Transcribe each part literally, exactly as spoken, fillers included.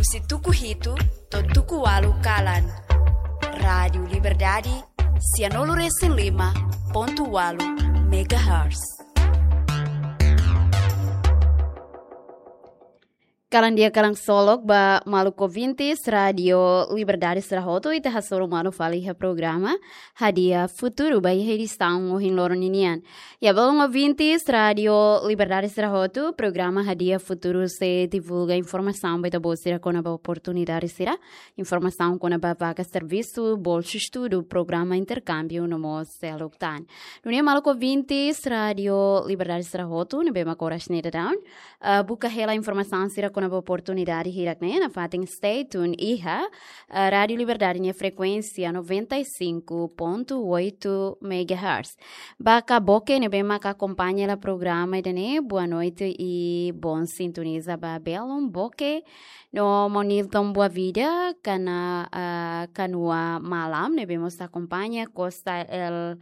Husi tuku hitu to'o tuku ualu kalan. Rádiu Liberdade, sianulu resin lima pontu ualu megahertz. Kalan di'ak, kalan ksolok ba maluk ouvintes Rádiu Liberdade sira hotu, ita hasoru malu fali iha programa Hadi'a Futuru ba iha edisaun ohin loron ninian. Ya, maluk ouvintes Rádiu Liberdade sira hotu, programa Hadi'a Futuru sei divulga informasaun ba ita-boot sira kona-ba oportunidade sira, informasaun kona-ba vaga servisu, bolsa estudu, programa interkámbiu no mós seluk tan. Nune'e maluk ouvintes Rádiu Liberdade sira hotu, ne'ebé mak oras ne'e daudaun, ah, buka hela informasaun sira kona-ba oportunidade hirak-ne'e nafatin stay tune iha, ah, Rádiu Liberdade nia frekuénsia noventa e cinco ponto oito megahertz. Ba Ka Boke ne'ebé mak akompaña hela programa ida-ne'e, boa noite i bon sintoniza ba belun Boke. No Maun Nilton Boavida, Kana, ah, Kanua Malam, ne'ebé mós akompaña, Costa El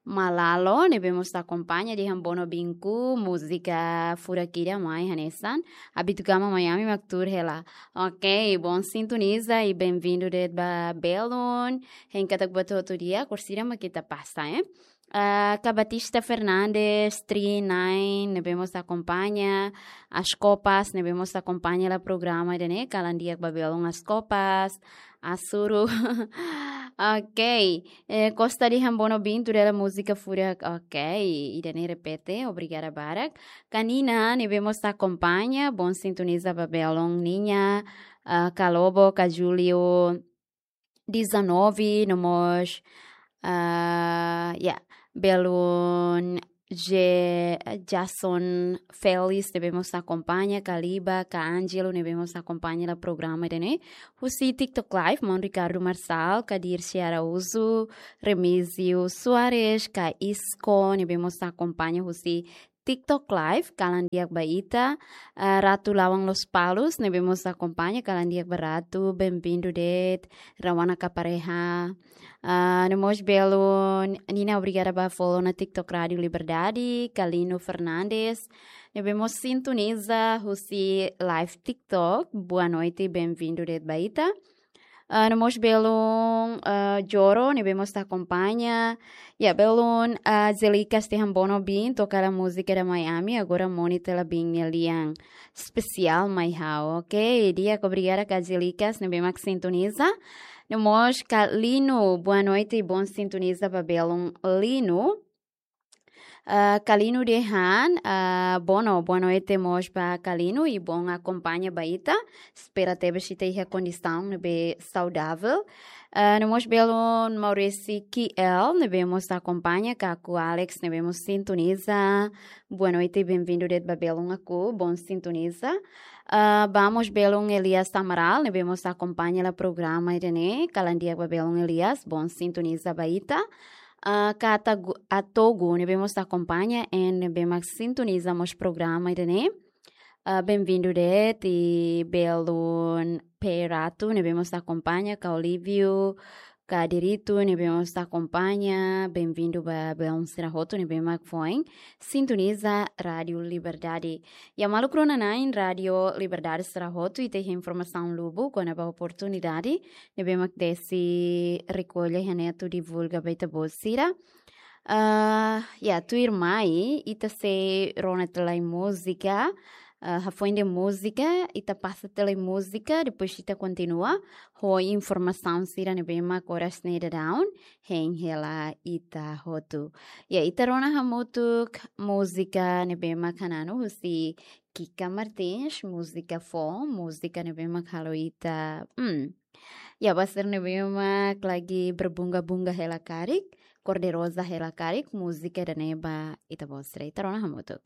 Malalo, ne'ebé mós akompaña, dehan bono binku, múzika furak ida mai hanesan. Abitu Gama Miami mak tuur hela. Ok, bon sintoniza i benvindu de'it ba belun. Hein katak buat hotu di'ak, orsida mak ita pasa, eh. Ah, Ka Batista Fernandes, Tri Nine, ne'ebé mós akompaña, As Copas, ne'ebé mós akompaña hela programa ida-ne'e, kalan di'ak ba belun As Copas, Asuru. Ok, eh, Costa dehan bono binku dala múzika furak, ok, ida-ne'e repete, obrigada barak. Ka Nina, ne'ebé mós akompaña, bon sintoniza ba belun ninia, ah, Ka Lobo, Ka Julio, dezanove, no mós, ah, ya, belun Je-, Jason Felix, ne'ebé mós akompaña, Ka Liba, Ka Angelo, ne'ebé mós akompaña hela programa ida-ne'e. Husi TikTok Live, Maun Ricardo Marçal, Ka Dirce Araújo, Remísio Soares, Ka Isco, ne'ebé mós akompaña husi TikTok Live, kalan di'ak ba ita, ah, Ratu Lawang Lospalos, ne'ebé mós akompaña, kalan di'ak ba Ratu, benvindu de'it, Rawana Kapareha. Ah, no mós belun Nina, obrigada ba follow ona TikTok Rádiu Liberdade, Ka Lino Fernandes, ne'ebé mós sintoniza husi live TikTok, boa noite, benvindu de'it ba ita. Ah, no mós belun, ah, Joro, ne'ebé mós akompaña. Ya, belun, ah, Zelikas dehan bono binku, toka hela múzika da Miami, agora moni tela bin nia lian espesiál mai ha'u. Ok, di'ak, obrigada Ka Zelikas, ne'ebé mak sintoniza. No mós Ka Lino, boa noite, bon sintoniza ba belun Lino. Ah, Ka Lino dehan, ah, bono, boa noite mós ba Ka Lino i bon akompaña ba ita. Espera tebes ita iha kondisaun ne'ebé saudável. Ah, no mós belun Maurice Kiel, ne'ebé mós akompaña, Kaku Alex, ne'ebé mós sintoniza. Boa noite, benvindu de'it ba belun Aku, bon sintoniza. Ah, ba mós belun Elias Amaral, ne'ebé mós akompaña hela programa ida-ne'e, kalan di'ak ba belun Elias, bon sintoniza ba ita. Ah, Ka Atagu-, Atogu, ne'ebé mós akompaña, en ne'ebé mak sintoniza mós programa ida-ne'e. Ah, benvindu de'it, i belun Peratu, ne'ebé mós akompaña, Ka Olívio, Ka Dirito, ne'ebé mós akompaña, benvindu ba belun sira hotu, ne'ebé mak foin sintoniza Rádiu Liberdade. Ya maluk rona-na'in Rádiu Liberdade sira hotu, ita iha informasaun lubuk kona-ba oportunidade ne'ebé mak Desi rekolla iha ne'e atu divulga ba ita-boot sira. Ah, ya, tuirmai, ita sei rona tiha lai múzika, ah, hafoin de'it múzika, ita pasa tiha lai múzika, depois ita kontinua ho informasaun sira ne'ebé mak oras ne'e daudaun hein hela ita hotu. Ya, ita rona hamutuk múzika ne'ebé mak hananu husi Kika Martins, múzika foun, múzika ne'ebé mak halo ita, hmm. Ya, ba sira ne'ebé mak lagi berbunga-bunga hela karik, kor-de-roza hela karik, múzika ida-ne'e ba ita-boot sira, ita rona hamutuk.